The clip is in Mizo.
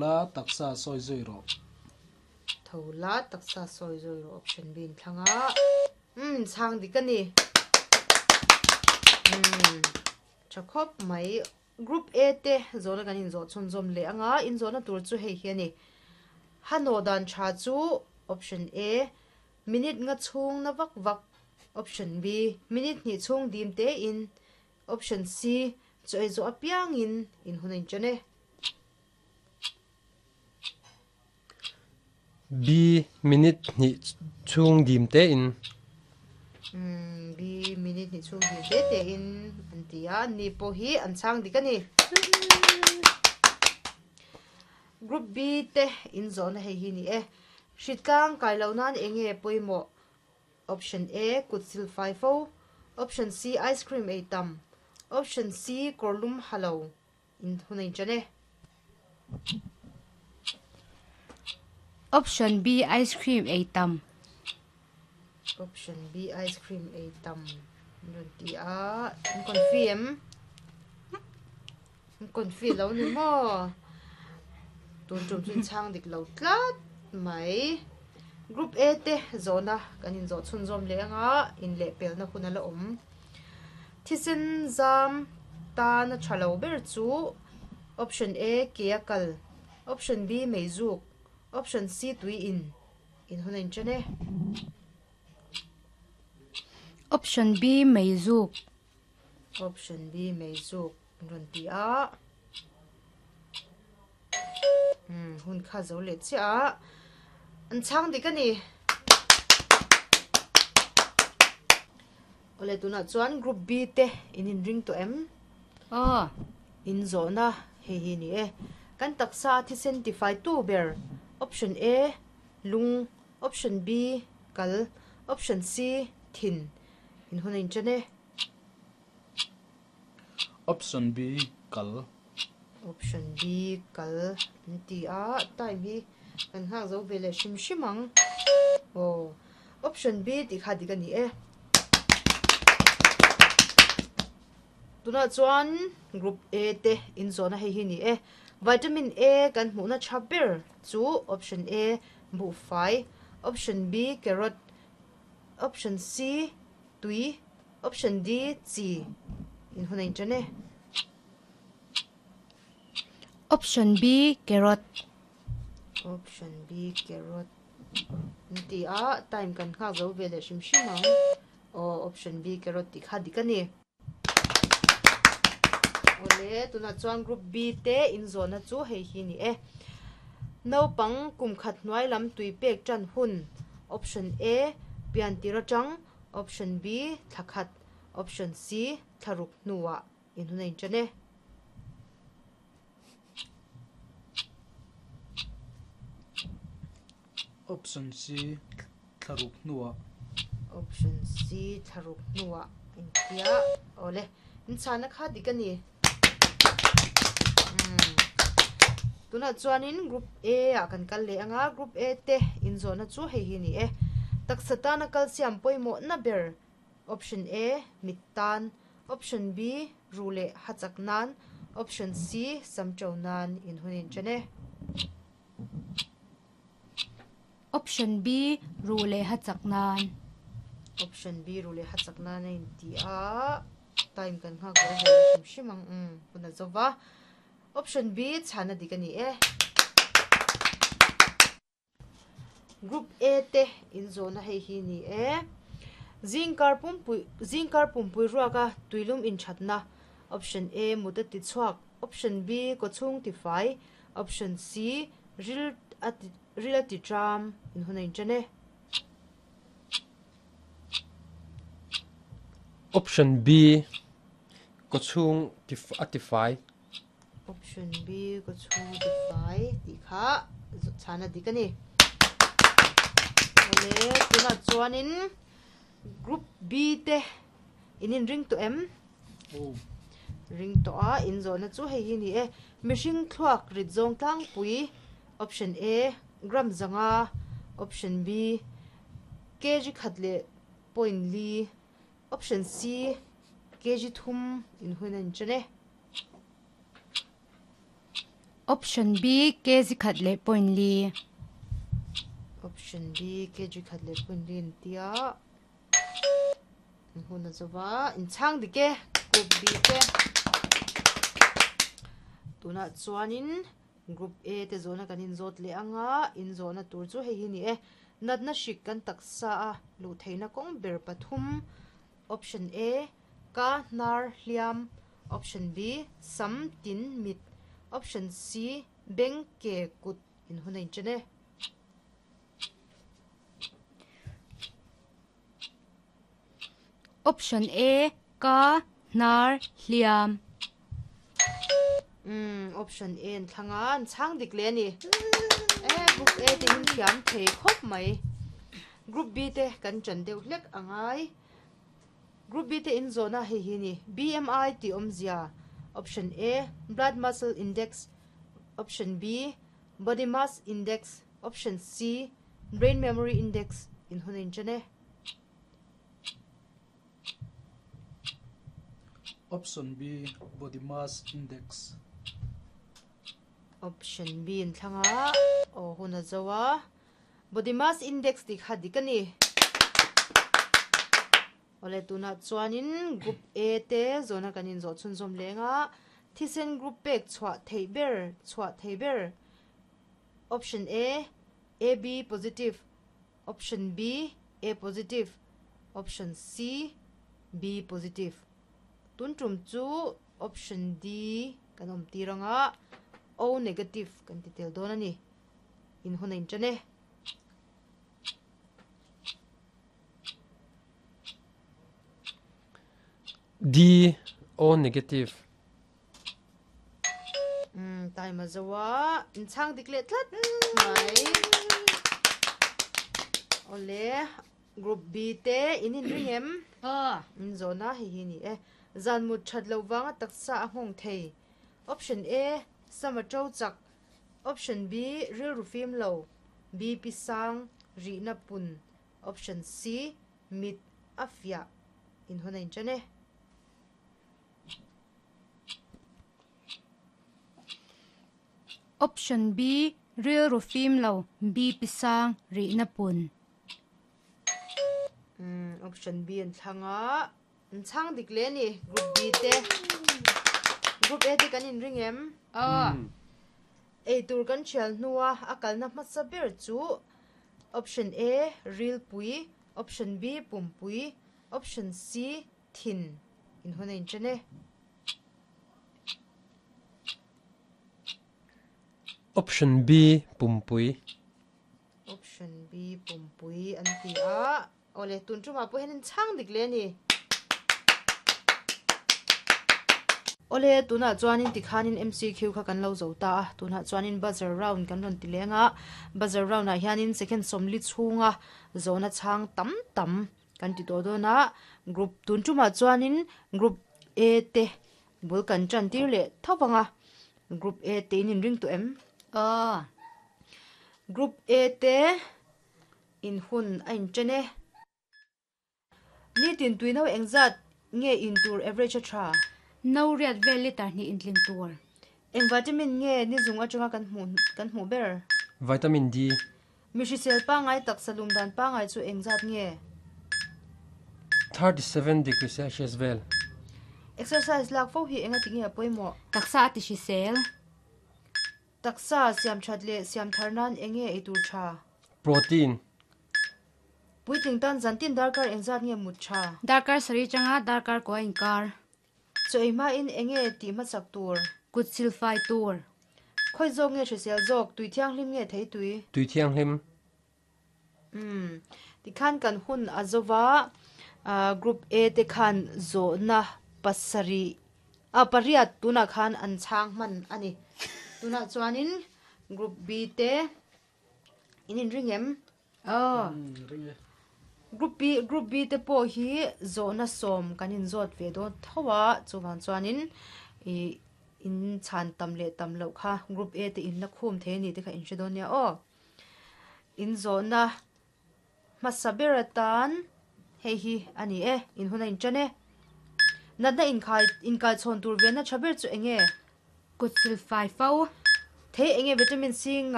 La taksa sawi zui rawh. Tho la taksa sawi zui rawh option B in thlang a. Umm chhang dik a ni. Umm tha khawp mai. Group A te zawhna kan inzawh chhunzawm leh anga inzawhna tur chu hei hi a ni. Hanaw dan tha chu option A minute nga chhung na vak vak option B minute hnih chhung dim te in option C chaw ei zawh apiangin in hun a inṭan e. B minute hnih chhung dim tein. B minute hnih chhung dim te tein an ti a, ni pawh hi an chhang dik a ni. Group B te inzawhna hei hi ni e. Hritlang kai loh nan eng nge pawimawh? Option A kut sil fai fo, Option C ice cream ei tam, Option C kawrlum ha lo. In hun a inṭan e. Option B ice cream ei tam. Option B ice cream ei tam an rawn ti a, an confi em? An confi lo ni maw? Tun tum chu inchhang dik lo tlat mai. Group A te zawhna kan inzawh chhunzawm leh anga inlehpelna hun a la awm. Thisen zam tan a tha lo ber chu Option A ke a kal, Option B mei zuk, Option C tui in in hun a inṭan e. Option B mei zuk. Option B mei zuk an rawn ti a. Umm hun kha zo leh chiah a, an chhang dik a ni. Awle tunah chuan group B te in inring tawh em? Aw. In zawhna hei hi ni e. Kan taksa a thisen tifai tu ber option A lung, option B kal, option C thin in hun a inṭan e. Option B kal. Option B kal an ti a, time hi kan nghak zo ve leh hrim hrim ang. Aw, option B tih kha dik a ni e. Tunah chuan group A te inzawhna hei hi ni e. Vitamin A kan hmuhna tha ber chu option A buhfai, option B carrot, option C tui, option D chi in hun a inṭan e. Option B carrot. Option B carrot an ti a, time kan nghak zo ve leh hrim hrim ang. Aw option B carrot tih kha dik a ni. Awle tunah chuan group B te inzawhna chu hei hi ni e. Naupang kum khat hnuai lam tui pek tan hun option A pian tir atang, option B thla khat, option C thla ruk hnuah in hun a inṭan e. Option C thla ruk hnuah. Option C thla ruk hnuah intia awle inchhana kha dik a ni. Tunah chuanin group A ah kan kal leh anga group A te inzawhna chu hei hi a ni e. Taksa tana calcium pawimawhna ber Option A, mit tan, Option B, ruh leh ha chak nan, Option C, sam to nan in hun in chen e. Option B, ruh leh ha chak nan. Option B, ruh leh ha chak nan a inti a, time kan nghak zo ve hrim hrim ang, umm hun a zo va. Option B, chhana dik a ni e. Group A te inzawhna hei hi ni e. Zingkar pumpui zingkar pumpui ruaka tuilum inthatna Option A mut a ti chhuak Option B kawchhung ti fai Option C ril a ti ril a ti tram in hun a inṭan e. Option B kawchhung ti a ti fai. Option B ka chhung ti fai tih kha chhana dik a ni. Awle tunah chuanin group B te in inring tawh em? Ring tawh a, in zawhna chu hei hi ni e. Mihring thluak rit zawng tlangpui option A gram zanga, option B kg khat leh point li, option C kg thum in hun a inchen e. Option B, kg khat leh point li. Option B, kg khat leh point li an ti a. An hun a zova, in chhang dik e, Group B te. Tunah chuanin Group A te zawhna kan inzawt leh ang a, inzawhna tur chu hei hi ni e. Natna hrik kan taksa a luh theihna kawng ber pathum, Option A, Ka hnar hliam, Option B, Sam tin mit, Option C, Beng ke kut in hun a inchen e. Option A, Ka hnar hliam. Umm, option A an thlang a, an chhang dik leh a ni. E, group A te in thiam thei khawp mai. Group B te kan ṭan deuh hlek a ngai. Group B te in zawhna hei hi a ni. BMI tih awmzia, Option A, Blood Muscle Index, Option B, Body Mass Index, Option C, Brain Memory Index in hun a inṭan e. Option B, Body Mass Index. Option B in thlang a, aw hun a zo a. Body Mass Index tih kha dik a ni. Awle tunah chuanin Group A te zawhna kan inzawh chhunzawm leng a, thisen group pek chhuah theih ber chhuah thei ber Option A, AB positive, Option B, A positive, Option C, B positive. Tun tum chu Option D kan awm tir ang a, O negative kan ti tel dawn a ni. In hun a inṭan e. D, O negative. Umm taima zo a in chhang dik leh tlat mai. Awle group B te in in ring em? Aw. In zawhna hei hi ni e. Zan mut that loh vanga taksa a nghawng thei. Option A, Sama to chak. Option B, Rilru fim lo. BP sang, rihna pun. Option C, Mit a fiah. In hun a inṭan e. Option B, Rilru fim lo, BP sang, rihna pun. Umm, option B an thlang a, an chhang dik leh a ni, group B te. Group A te kan inring em? Aw. Eitur kan thial hnua a kalna hmasa ber chu Option A, Rilpui, Option B, Pumpui, Option C, Thin in hun a inṭan e. Option B, Pumpui. Option B, Pumpui an ti a. Awle, tun ṭumah pawh hian in chhang dik leh a ni. Awle, tunah chuanin tikhanin MCQ kha kan lo zo ta a. Tunah chuanin buzzer round kan rawn ti leng a. Buzzer round-ah hianin second sawmli chhunga zawhna chhang tam tam Kan ti tawh dawn a, group tun tumah chuanin group A te bul kan tan tir leh tho vang a, group A te in inring tawh em? Aw. Group A te in hun a inchen e. Nitin tuino engzat nge in tur average a tha? No riat vel liter hnih intlin tur. Eng vitamin nge ni zung atanga kan hmuh kan hmuh ber? Vitamin D. Mi hrisel pangngai taksa lum dan pangngai chu eng zat nge? 37 degree Celsius vel. Exercise lak fo hi enga ti nge a pawimawh? Taksa a ti hrisel. Taksa siam that leh siam thar nan eng nge ei tur tha? Protein. Puitling tan zantin darkar eng zat nge mut tha? Darkar sarih changa darkar kua inkar. Chaw ei hmain eng nge tih hmasak tur? Kut sil fai tur. Khawi zawk nge hrisel zawk? Tui thianghlim nge thei tui? Tui thianghlim. Umm. Tikhan kan hun a zo va, Group A te khan zawhna pasarih, ah pariat tunah khan an chhang hman a ni. Tunah chuanin Group B te in inring em? Aw. Ring e. Group B, Group B te pawh hi zawhna sawm kan inzawt ve dawn tho a, chuvang chuanin ih in chhan tam leh tam loh kha Group A te in la khum thei a ni te kha in hre dawn nia aw. In zawhna hmasa ber atan hei hi a ni e, in hun a inṭan e. Natna inkhai inkaichhawn tur venna tha ber chu eng nge? Kut silfai fo. Thei enge vitamin C ngah?